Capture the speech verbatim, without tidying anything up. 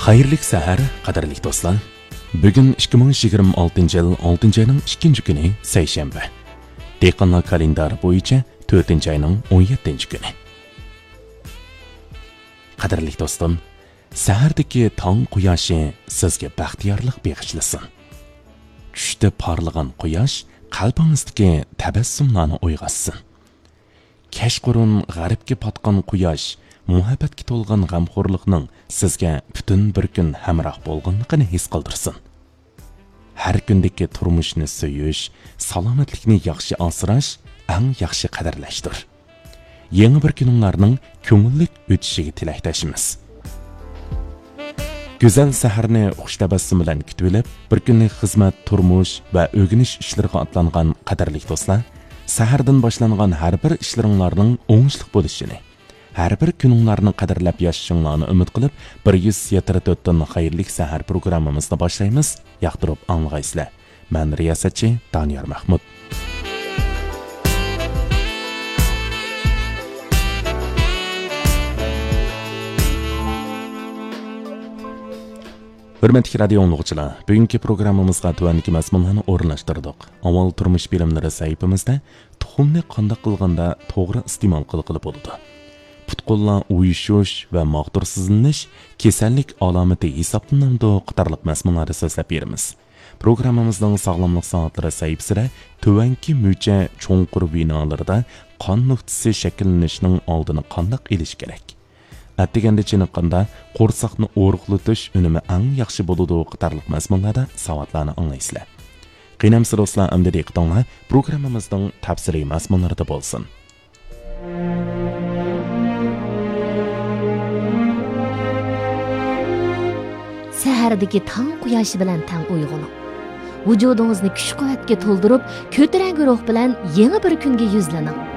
خەيرلىك سەھەر، قەدىرلىك دوستلار. بۈگۈن ئىككى مىڭ يىگىرمە ئالتىنچى يىل ئالتىنچى ئاينىڭ ئىككىنچى كۈنى، سەيشەنبە. دېھقانلار كالېندارى بويىچە تۆتىنچى ئاينىڭ ئون يەتتىنچى كۈنى. قەدىرلىك دوستۇم، سەھەردىكى تاڭ قۇياشى سىزگە بەختىيارلىق بېغىشلىسۇن. چۈشتە پارلىغان قۇياش قەلبىڭىزدىكى تەبەسسۇملارنى ئويغاتسۇن. كەچقۇرۇن غەربكە پاتقان قۇياش مۇھەببەتكە تولغان غەمخورلۇقنىڭ سىزگە پۈتۈن بىر كۈن ھەمراھ بولغانلىقىنى ھېس قىلدۇرسۇن. ھەر كۈندىكى تۇرمۇشنى سۆيۈش، سالامەتلىكنى ياخشى ئاسراش، ئەڭ ياخشى قەدىرلەشتۇر. يېڭى بىر كۈنۈڭلارنىڭ كۆڭۈللۈك ئۆتۈشىگە تىلەكداشمىز. گۈزەل سەھەرنى خۇش تەبەسسۇم بىلەن كۈتۈۋېلىپ، بىر كۈنلۈك خىزمەت، تۇرمۇش ۋە ئۆگىنىش ئىشلىرىغا ئاتلانغان قەدىرلىك دوستلار، سەھەردىن باشلانغان ھەر بىر ئىشلىرىڭلارنىڭ ئوڭۇشلۇق بولۇشىنى، ھەر بىر كۈنۈڭلارنى قەدىرلەپ ياشىشىڭلارنى ئۈمىد قىلىپ، بىر يۈز يەتتە تۆتتىن خەيرلىك سەھەر پروگراممىمىزنى باشلايمىز. ياقتۇرۇپ ئاڭلىغايسىلەر. مەن رىياسەتچى دانىيار مەھمۇت. ھۆرمەتلىك رادىيو ئاڭلىغۇچىلار، بۈگۈنكى پروگراممىمىزغا تۆۋەندىكى مەزمۇنلارنى ئورۇنلاشتۇردۇق. ئاۋۋال تۇرمۇش بىلىملىرى سەھىپىمىزدە تۇخۇمنى قانداق قىلغاندا توغرا ئىستېمال قىلغىلى بولىدۇ؟ پۇت-قوللار ئۇيۇشۇش ۋە ماغدۇرسىزلىنىش كېسەللىك ئالامىتى ھېسابلىنامدۇ؟ قاتارلىق مەزمۇنلاردا سۆزلەپ بېرىمىز. پروگراممىمىزنىڭ ساغلاملىق سائەتلىرى سەھىپىسىدە تۆۋەنكى مۈچە چوڭقۇر ۋېنالىرىدا قان نۇقتىسى شەكىللىنىشنىڭ ئالدىنى قانداق ئېلىش كېرەك؟ ئەتىگەندە چېنىققاندا قورساقنى ئورۇقلىتىش ئۈنۈمى ئەڭ ياخشى بولىدۇ قاتارلىق مەزمۇنلاردا ساۋاتلارنى ئاڭلايسىلەر. قېنى ئەمىسە دوستلار، ئەمدى دىققىتىڭلار پروگراممىمىزنىڭ تەپسىلىي مەزمۇنلىرىدا بولسۇن. سەھەردىكى تاڭ قۇياشى بىلەن تەڭ ئويغىنىڭ. ۋۇجۇدىڭىزنى كۈچ-قۇۋۋەتكە تولدۇرۇپ، كۆتۈرەڭگۈ روھ بىلەن يېڭى بىر كۈنگە يۈزلىنىڭ.